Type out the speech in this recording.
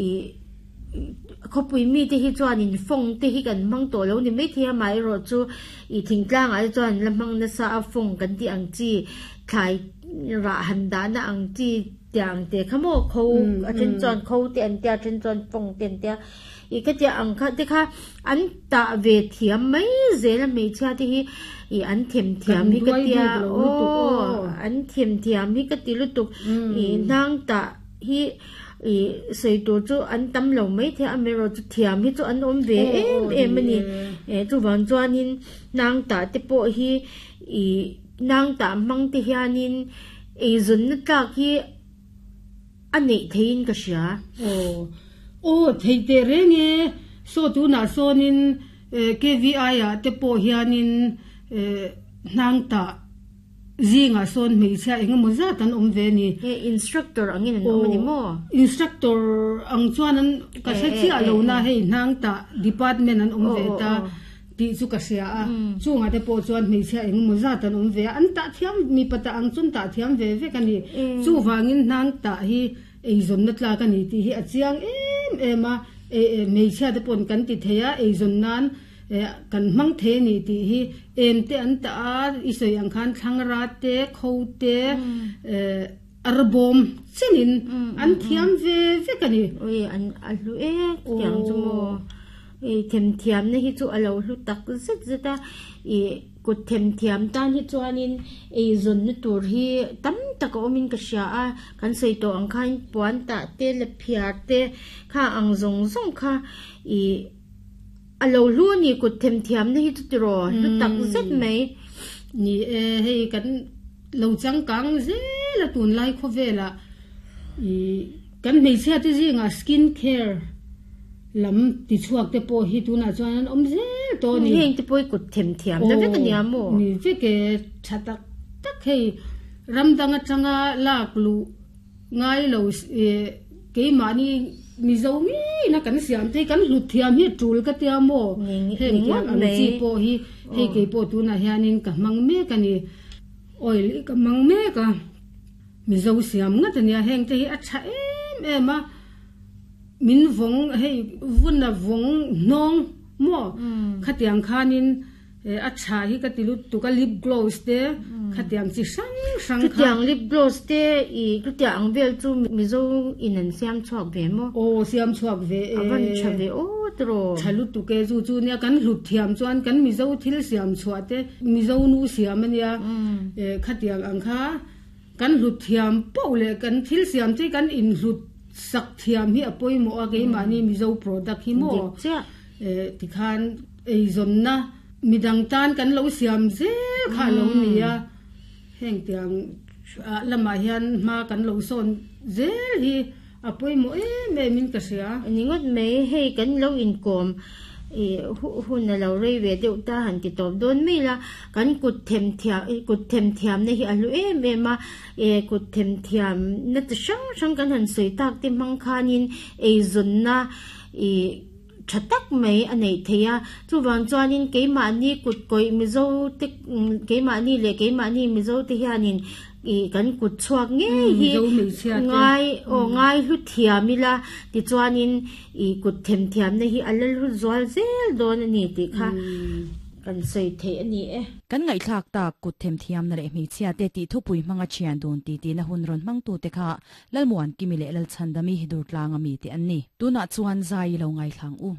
Ih khawpui mite hi chuanin fawng te hi kan hmang tawh lo ni maithei a, amaherawhchu ih thingtlangah te chuan la hmang nasa a fawng kan tih ang chi thlai rah han dahna ang chi tiang te kha maw kho a then chuan kho te an tia a then chuan fawng te an tia ih ka tia ang kha te kha an tah ve thiam mai zel a hmeichhia te hi ih an them thiam hi ka tia aw an them thiam hi ka ti lutuk ih hnang tah hi ih sawi tur chu an tam lo mai thei a amaherawhchu thiam hi chu an awm ve em em a ni eh chuvang chuanin hnang tah te pawh hi ih hnang tah hmang te hianin eizawnna tlak hi a neih theihin ka hria. Aw aw thei teh reng e saw tunah sawnin KVI ah te pawh hianin eh hnang tah Zingah sawn hmeichhia eng emaw zat an awm ve a ni. He instructor angin an awm a ni maw? Instructor ang chuan an ka hre chiah lo na hei hnang tah department an awm ve ta tih chu ka hria a. Chungah te pawh chuan hmeichhia eng emaw zat an awm ve a, an tah thiam mipa tah ang chuan tah thiam ve vek a ni. Chuvangin hnang tah hi eizawnna tlak a ni tih hi a chiang em em a, hmeichhia te paw'n kan ti thei a eizawn nan. Kan hmang thei a ni tih hi em te an tah a, i sawi ang khan thlangra te, kho te, arbawm chenin an thiam ve vek a ni. Ui, an a hlu ek tiang chu maw? I themthiamna hi chu a lo hlu tak zet zet a, i kut themthiam tan hi chuanin eizawnna tur hi tam tak a awmin ka hria a, kan sawi tawh ang khan puan tah te, lephiar te kha ang zawng zawng kha i A lo hlu a ni kut themthiamna hi chu tiraw hlu tak zet mai. Ni e, hei kan lo changkang zel a tunlai khawvelah ih kan hmeichhia te zingah skin care lam tichhuak te pawh hi tunah chuan an awm zel tawh a ni. Heng te pawh hi kut themthiamna vek a nia maw? Ni vek e, tha tak tak hei ram dang atanga lak luh Ngai lo e, keimahni Mizo ngeina kan siam te hi kan hlut thiam hi tul ka tia maw? Heng tiang ang chi pawh hi hei kei pawh tunah hianin ka hmang mek a ni. Oil hi ka hmang mek a, Mizo siam ngat a nia, heng te hi a tha em em a, min vawng hei vuna vawng hnawng maw khatiang khanin A tha hi ka ti lutuk a, lip gloss te khatiang chi hrang hrang kha. Chutiang lip gloss te i chutiang ang vel chu Mizo in an siam chhuak ve maw? Aw siam chhuak ve e. A van tha ve aw tiraw. Tha lutuk e chu chu nia kan hlut thiam chuan kan Mizo thil siam chhuah te Mizo nu siam a nia khatiang ang kha kan hlut thiam poh leh kan thil siam te kan inhlut sak thiam hi a pawimawh a keimahni Mizo product hi maw? Dik chiah. Tikhan. Eizawnna midang tan kan lo siam zel kha a lo ni a, heng tiang lamah hian hma kan lo sawn zel hi a pawimawh em em in ka hria. Ni ngawt mai, hei kan lo inkawm hun a lo rei ve deuh ta han ti tawp dawn mai la, kan kut themthiam kut themthiamna hi a hlu em em a, kut themthiamna chi hrang hrang kan han sawi tak te hmang khanin eizawnna ih tha tak mai a neih theih a, chuvang chuanin keimahni kut kawih Mizo te keimahni leh keimahni Mizo te hianin ih kan kut chhuak ngei hi ngai aw ngai hlu thiam ila tichuanin ih kut themthiamna hi a la hlu zual zel dawn a ni tih kha kan sawi theih a ni e. Kan ngaihthlak tak kut themthiamna leh hmeichhia te tih thupui hmanga thian dun titi na hun rawn hmangtute kha Lalmuankimi leh Lalchhandami Durtlanga mite an ni. Tunah chuan zai i lo ngaithlang u.